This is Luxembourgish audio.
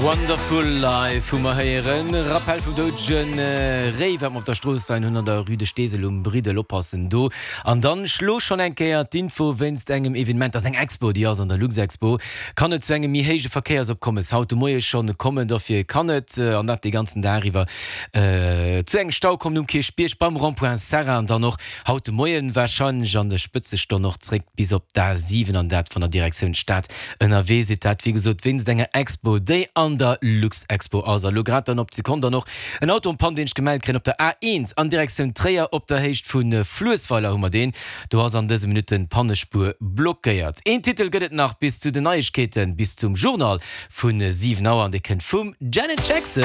Wonderful Life hu mer héieren. Rappell vum doudege Réi, wat mer op der Strooss leien hunn an der Rue de Steesel um Briddel. Oppassen do. An dann schlo schonn eng Kéier d'Info wéinst engem Evenement, dat ass eng Expo, déi ass an der Luxexpo, kann et zu engem méi héije Verkéiersopkommes haut de Moie schonn kommen. Dofir kann et, an dat dee ganzen Dag iwwer, zu engem Stau kommen um Kierchbierg beim Rond-point Serra an dann och haut de Moien warscheinlech an der Spëtzestonn och zréck bis op d'A7 an dat wann der Direktioun Stad ënnerwee sidd. Dat wéi gesot wéinst enger Expo, déi an der Luxexpo ass. A lo grad dann op d'Sekonn dann och en Auto en panne, deen ech gemellt kréien op der A1 an Direktioun Tréier op der Héicht vu Fluessweiler hu mer deen. Do ass an dëse Minutten d'Pannespuer blockéiert. Een Titel gëtt et nach bis zu den Neiegkeeten, bis zum Journal vu 7 Auer an dee kënnt vum Janet Jackson.